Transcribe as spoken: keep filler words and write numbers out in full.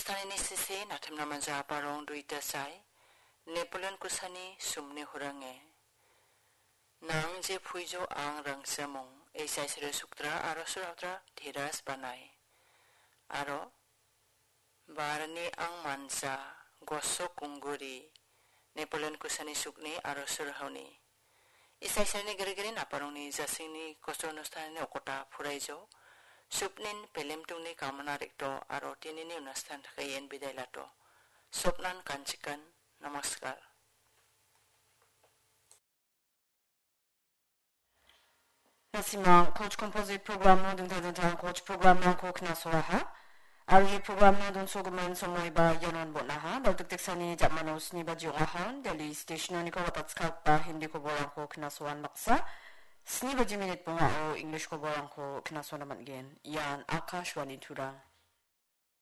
Tanini sese natimna manja barong duita sai, Napoleon kusani sumni hurange. Nang je puijo ang rangsamung, esai sere suktra aro surautra teras banai. Aro, barani ang mansa, gosok ungguri, Napoleon kusani sukni aro surhauni. Isai sani gere-gere naparongni jasingni kosor onusthanni okota phuraijo. Supnin pelemtungni kamana rekto aro tinini onusthan thakaien bidai lato. Sopnan kanchikan. Namaskar. Nasimang Koch Composite Program-o dingtang dingtang Koch program-rangko knasoaha. Aro ia program-na donsogimin somoiba ianon bon·aha. Baltik teksani ja·mano sni baji ong·aha. Delhi station-oniko watatskakgipa Hindi koborangko knasoan baksa. Sni baji minit bongao English koborangko knasoana man·gen. Ian Akashvani Tura.